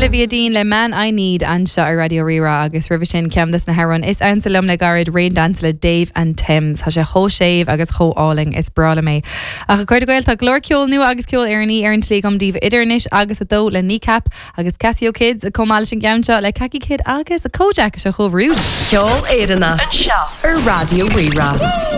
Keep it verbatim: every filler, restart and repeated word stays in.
Olivia Dean le Man I Need anseo ar Raidió Rí-Rá agus roimhe sin ceann des na hamhráin is ansa liom le gairid Rain Dance le Dave and Thames. Tá sé chomh séimh agus chomh hálainn is breá liom é. Ach a chairde Gael tá glór ceol nua agus ceol Éireannach ar an tslí agam daoibh idir anois agus a dó le Kneecap agus Casio Kids chomh maith leis an gceann seo le Kaki Kid agus a Kojak seo chomh rude. Ceol Éireannach anseo ar Raidió Rí-Rá.